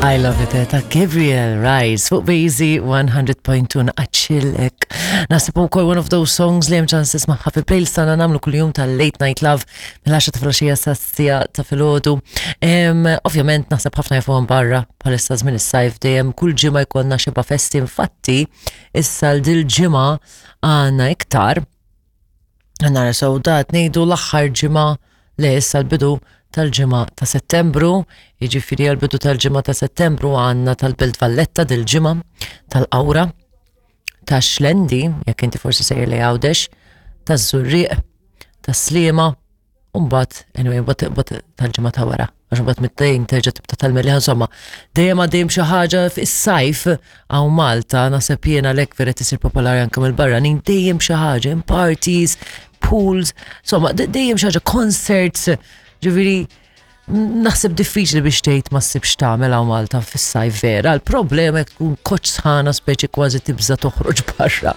I love it, eh, ta' Gabriel Rice fuq Bazy 100.2 naqaċċillek. Nasib ukoll one of those songs li hemm ċans tismagħha fil-playlist tagħna nagħmlu kuljum tal-Late Night Love mill-10 ta' filgħaxija sa sija ta' filgħodu. Ovvjament naħseb ħafna jafuhom barra bħalissa żmien is-sajf dejjem kull ġimgħa jkollna xeba festi infatti issa l dil ġimgħa għandna iktar Nara sew dat ngħidu l-aħħar ġimgħa le issa l-bidu tal-ġimgħa ta' Settembru, jiġifieri għall-bidu tal-ġimgħa ta' Settembru għandna tal-Belt Valletta dil-ġimgħa tal-Qawra ta' Xlendi, jekk inti forsi sejjer li Għawdex, taż-Żurrieq, tas-Sliema, U mbagħad, anyway, mbagħad tal-ġimgħa ta' wara, għax mbagħad mit-tejn terġa' tibda tal-melliħa insomma, dejjem għaddejjem xi ħaġa fis-sajf hawn Malta, naħseb jiena lek vera tisir popolari anke mill-barranin, dejjem xi ħaġa, parties, pools, insomma, dejjem xi ħaġa, concerts, ġifieri naħseb diffiċli biex tgħid ma ssibx tagħmel hawn Malta fis-sajf vera. Il-problema jekk tkun koċ sħana speċi kważi tibża toħroġ barra.